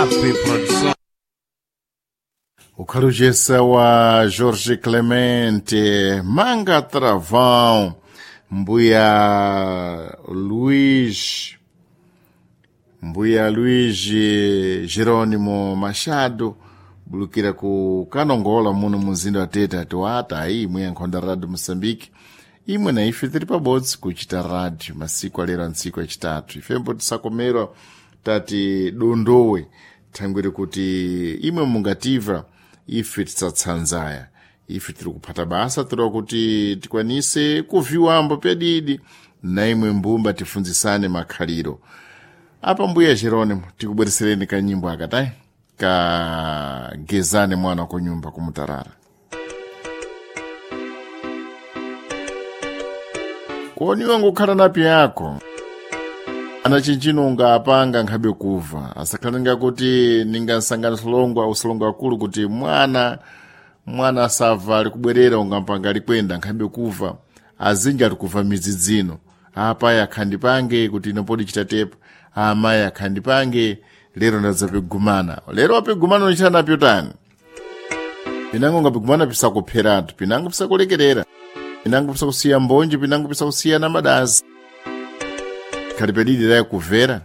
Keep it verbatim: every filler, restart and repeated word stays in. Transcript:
A P Produção. Ukhalujesa wa Jorge Clemente, Manga Travão, Mbuya Luiz, Mbuya Luiz Jerônimo Machado, bulukira ku Kanongola muno muzinda wa Tete atiwata ayi imwe yankhonda Radio Moçambique. Imwe na ife tiri pabodzi kuchita radio masiku alero antsiku achitatu. Ifembo tisakomerwa tati dondowe thangwiri kuti imwe mungativa ife tisatsanzaya. Ife tiri kuphata basa tiriwa kuti tikwanise kuviwambo pedidi na imwe mbumba tifunzisane makhaliro. Apa Mbuya Jerônimo tikubweresereni kanyimbo akatai kagezane mwana kunyumba kumutarara. Koniwa ngukhala napi yako ana chinchino ungapanga nkhabe kuva asakhalenga kuti ningasangana solongwa usolongo akulu kuti mwana mwana asava ali kubwerera ungampanga alikwenda nkhabe kuva azinji ali kuva midzi dzino apayi akhandipange kuti ino podi chitatepa amayi akhandipange lero ndadzapigumana lero wapigumana unichita napyo tani pinango ungapigumana pisakupheratu pinango pisakulekerera pinango pisakusiya mbonji pinango pisakusiya na madazi khali pedidi laye kuvera.